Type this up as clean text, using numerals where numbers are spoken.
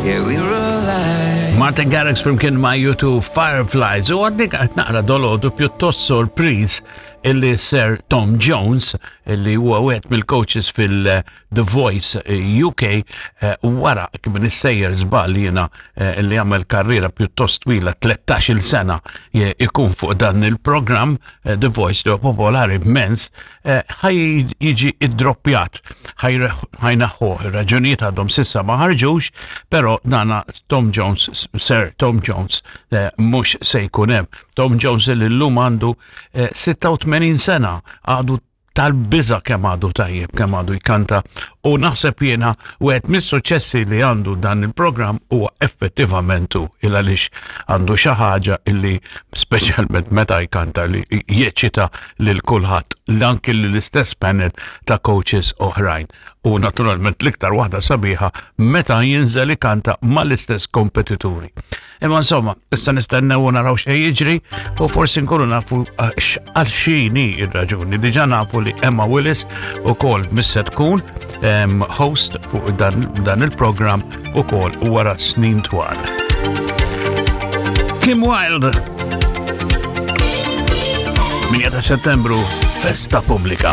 Yeah, we're alive. Martin Garrix flimkien ma' U2 Fireflies u għaddik qed naqra dolodu pjuttost sorpriż illi Sir Tom Jones illi huwa wieħed mill-coaches fil-The Voice UK eh, wara kif nissejjer żball jiena eh, illi għamel karriera pjuttost twila 13-il sena ikun fuq dan il-programm eh, The Voice li huwa popolari immens Eh, ħaj jiġi id-droppjat, ħajnaħħuh, ir-raġunijiet għadhom sissa ma ħarġux, però dana Tom Jones, Sir Tom Jones, eh, mhux se jkun hemm. Tom Jones li llum għandu 86 eh, sena, għadu tal-biża kemm għadu tajjeb, kemm għadu jkanta u naħseb jiena wieħed mis-suċċessi li għandu dan il-programm huwa effettivament hu il għaliex għandu xi ħaġa illi speċjalment meta jkanta li jeċita lil kulħadd, anki l-istess panel ta' coaches oħrajn. U naturalment l-iktar waħda sabiħa meta jinżel ikanta mal-istess kompetituri. Imma insomma, issa nistennew u naraw xejn jiġri u forsi nkunu nafu eh, għal xini ir-raġuni. Diġà nafu li Emma Willis ukoll missa tkun host fuq dan, dan il-programm ukoll wara snin twal. Kim Wilde 8 ta' settembru, festa pubblika.